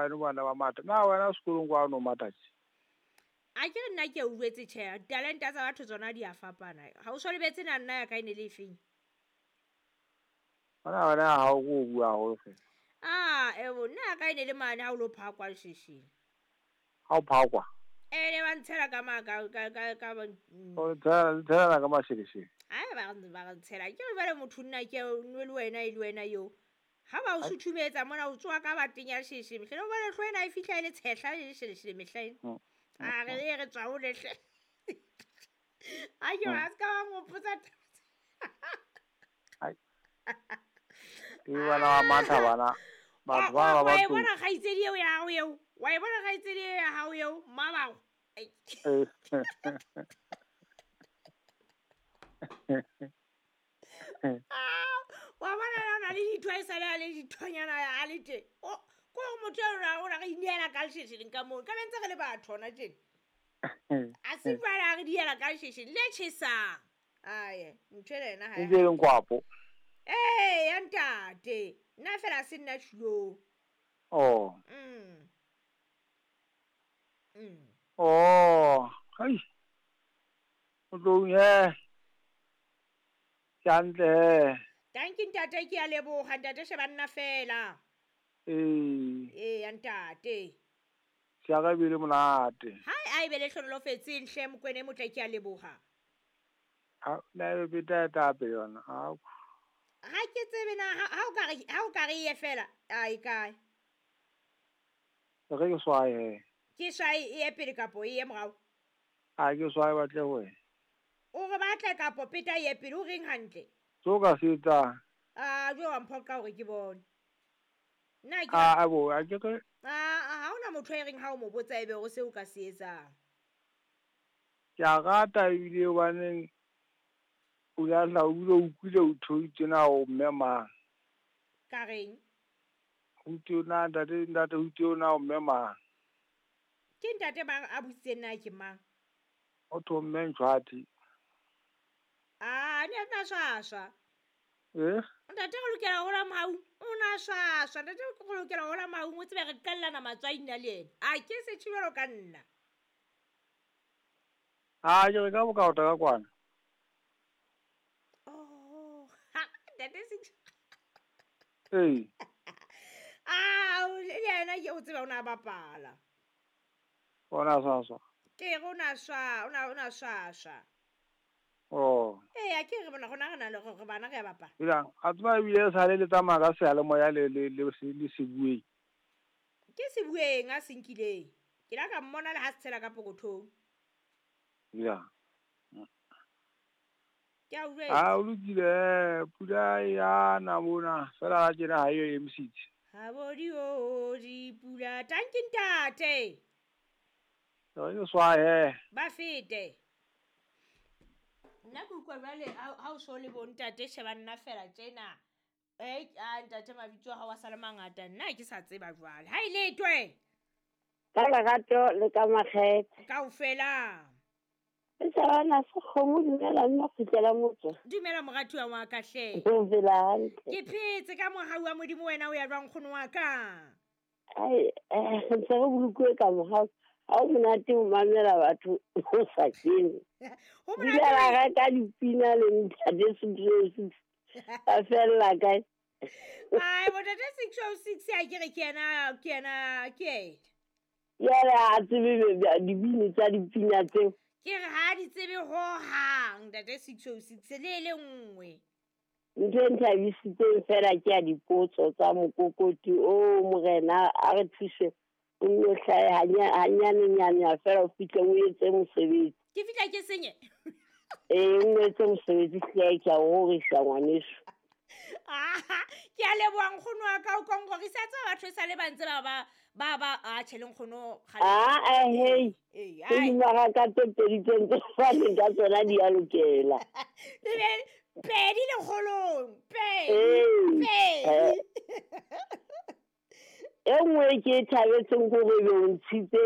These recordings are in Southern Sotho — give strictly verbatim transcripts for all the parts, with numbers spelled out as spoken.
eno bana ba matha. Na wena sekolong kwa no matha tje? A ke re nna ke o jwetse tjhe, talenta tsa batho tsona di a fapana. Ha o so lebetse na nna ya ka e ne le efeng? Wena wena ha o go bua haholo fela. Ah, ebo nna ya ka e ne le mane ha o lo phakwa leshesheng. Ha o phakwa? E ne ba ntshela ka ma ka ka ka ka O tshela tshela ka masheleshele. Ai ba ba ntshela. Ke re jwale motho nna ke nwe le wena e le wena eo. Ha ba o suthumetsa mona o tswa ka bateng ya lesheshe. Mehleng o bona hlo ena e fihla e le tshehla le lesheleshele mehleng. A re e re tswa ho lehle. A ke wa ska ba ngopotsa. Ai. Ke bana ba matha bana. Batho ba ba Wa e batho. bona kgaitsedi eo ya hao eo. Wa e bona kgaitsedi eo ya hao eo, mmabago. Ai. Ah, wa bona na o na le ditho e sale a le dithonyana a le teng. O ko gore motho eo ra o ra re ineela ka leshesheleng ka moo. Ka be ntse re le batho hona tjena. A se jwale a re diela ka leshesheng le tjhesang. Ae, ntho ena yena ha E e. ntse e leng kwapo. Ee, ya ntate. Nna fela se nna tjhulong. Oh. Mm. Mm. Oh, hai. O tlong he. Ke hantle he. Tanki ntate, ke a leboha ntate, sheba nna fela. Ee. Ee, ya ntate. Siaka ebile monate. Hai, a e be le hlonolofetseng hle Mokwena e motle, ke a leboha. Ha na e beta eta pele yona. Ha. Ha ke tsebe na ha ha o ka re ha o ka re e ye fela, a e kae? Re ke swae he. Ke swae e ye pele kapo e ye morao? Ha ke swae batle ho wena. O re batle kapo peta e ye pele, o reng hantle? So ka se etsang. Ah, jo wa mphoqa hore ke bone. Nna ke Ah, abo, a ke re Ah, ha hona motho e reng ha o mo botsa ebe hore seo ka se etsang. Ke a rata ebile hobaneng o la tla o bile o utlwile o thoitse na o mme mang. Ka reng? Ho thwe na ntate ntate ho thwe na o mme mang. Ke ntate mang a butsitseng na ke mang? O thwe mme Ntshwati. Ah, ne na swaswa. Eh? Ntate re lokela ho la mohau. O na swaswa. Ntate re lokela ho la mohau, o tsebe re qellana matswai nna le yena. A ke se tjhibelo ka nna. Ah, ke re ka bokaota ka kwana. Oh, ha, ntate se Ee. Ah, le yena ke o tseba o na bapala. O na swaswa. Ke re o na swa, o na o na swaswa. Oh. Ee, a ke re bona rona re na le hore bana re a bapala. Jwang, a tseba ebile e sale le tsamaya ka seyalemoya le le le le sebueng. Ke sebueng a se nkileng. Ke la ka mmona le ha se tshela ka pokothong. Ya. Ke a utlwetse. Ha o lokile, pula ya na mona, fela ha tjena ha e emisitse. Ha bo di o di pula, tanki ntate. Re ke swae he. Ba fete. Nna ke utlwa jwale ha ha o so le bo ntate sheba nna fela tjena. Eh, a ntate mabitso a hao a sa le mangata, nna ke sa tseba jwale. Ha e letwe. Ka lerato le ka makgethe. Kaofela. E sa se kgomo, dumela nna kgutlela motho. Dumela moratuwa wa ka hle. O phela hantle. Ke phetse ka mohau wa Modimo, wena o ya jwang nkgono wa ka? Ai, eh, re ntse re bolokuwe ka mohau. Ha o monate ho mamela batho o sa kene. Ho Dula monate. ra reka dipina le ntate six oh six. Ba fella kae? Ai, bo ntate six oh six a ke re ke yena, ke yena, ke yena. Jwale ha tsebe be- dibini tsa dipina tseo. Ke re ha di tsebe hohang ntate six oh six le le nngwe. Ntho e nthabisitseng fela ke ya dipotso tsa mokokoti o morena a re thuse o nno hlahe hanya- hanyanenyane fela o fihle o etse mosebetsi. Ke fihla ke senye. Ee, o etse mosebetsi hle, ke a o rorisa ngwaneso. Ah, ke a leboha nkgono wa ka, o kongorisa tsa batho e sale ba ntse ba ba ba ba a tjhe le nkgono kgale. Ah, eh, hey. Ee, Tse ai. dimaraka tse pedi tse ntse faneng ka tsona di a lokela. Le be pedi lekgolong, pedi, Ee. pedi. E nngwe e ke e thabetseng ke hore ebe o ntshitse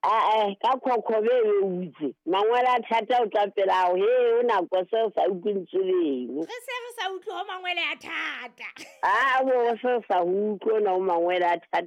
ah, eh, ka khokhobe e be o itse mangwele a thata o tla pela hao, he o nako se o sa utlwe lentswe leno. Re se re sa utlwe ho mangwele a thata. Ah, bo se o sa utlwe ona o mangwele a thata.